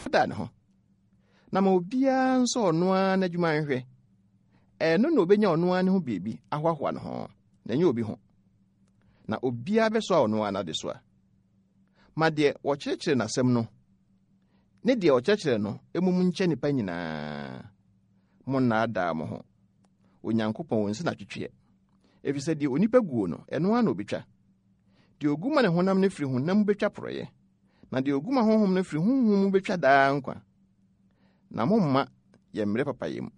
ɔdaadaa ne ho. Na ma obiara nsɔ ɔno ara n'adwuma nhwɛ. Ɛno na obenya ɔno ara ne ho biribi ahoahoa ne ho, na ɛnyɛ obi ho. Na obiara bɛsoa ɔno ara n'adesoa. Ma deɛ wɔkyerɛkyerɛ n'asɛm no ne deɛ ɔkyerɛkyerɛ no mmom nkyɛ nnipa nyinaa. Monnaadaa mo ho. Onyankopɔn onsi n'atwetweɛ. Efisɛ deɛ onipa guo no, ɛno ara na obetwa. Deɛ ogu ma ne honam no firi honam mu betwa porɔeɛ, na deɛ ogu ma honhom no firi honhom mu betwa daa nkwa. Na momma yɛmmrɛ papayɛ mu,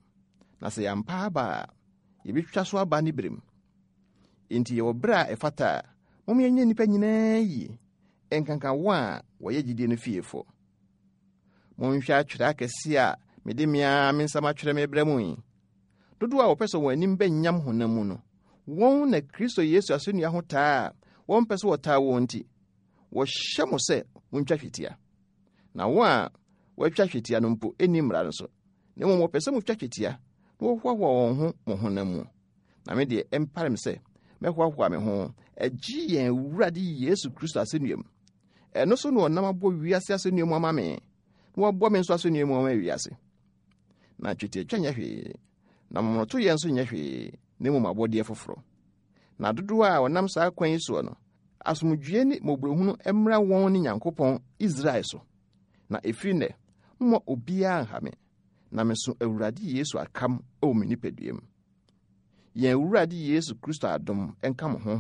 na sɛ yɛampa aba a, yɛbɛtwa so aba ne berɛ mu. Enti yɛwɔ berɛ a ɛfata a, mom yɛnyɛ nnipa nyinaa yie, ɛnkanka wɔn a wɔyɛ gyidie no fiefoɔ. Monhwɛ atwerɛ akɛseɛ a mede me ara me nsa matwerɛ mebrɛ mo yi. Dodoɔ a wɔpɛ sɛ wɔn anim bɛnyam honam mu no, wɔn na Kristo Yesu asɛnnua ho taa a wɔmpɛ sɛ wɔtaa wɔn nti, wɔhyɛ mo sɛ montwa twetia. Na wɔn a wɔatwa twetia no mpo nni mmara no so, na mmom wɔpɛ sɛ motwa twetia na wɔhoahoa wɔn ho mo honam mu. Na me deɛ, ɛmpare me sɛ mɛhoahoa me ho agye yɛn Awurade Yesu Kristo asɛnnua mu. Ɛno so na ɔnam abɔ wiase asɛnnua mu ama me, na wabɔ me nso asɛnnua mu ama wiase. Na twetiatwa nyɛ hwee, na momonotoyɛ nso nyɛ hwee, na mmom abɔdeɛ foforɔ. Na dodoɔ a wɔnam saa kwan yi soɔ no, asomdwoeɛ ne mmɔborɔhunu mmra wɔn ne Nyankopɔn Israel so. Na ɛfiri nnɛ, momma obiara nha me, na meso Awurade Yesu akam wɔ me nipadua mu. Yɛn Awurade Yesu Kristo adom nka mo honhom.